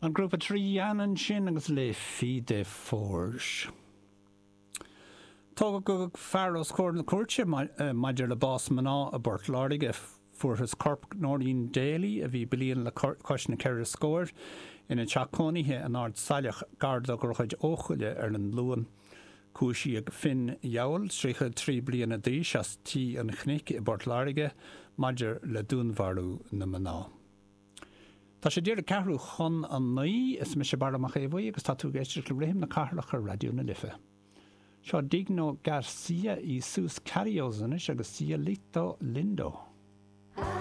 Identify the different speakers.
Speaker 1: An grúpa Triana ansin agus Les Filles des Forges. Tugadh fear os comhair na cúirte maidir le bás mná i bPort Láirge. Fuarthas corp Noreen Daly, a bhí bliain le cois na ceithre scóir, ina teach cónaithe in Ard Saileach, gar do Dhroichead Eochaille ar an Luan. Cúisíodh Finn Yowell, 33 bliana d'aois, as Tí an Chnoic i bPort Láirge, maidir le dúnmharú na mná. Tá sé díreach ceathrú chun a 9, is mise Barra Mac Aodha Bhuí agus tá tú ag éisteacht le Rithim na Cathrach ar Raidió na Life. Seo Digno Garcia y sus Carios anois agus Cielito Lindo.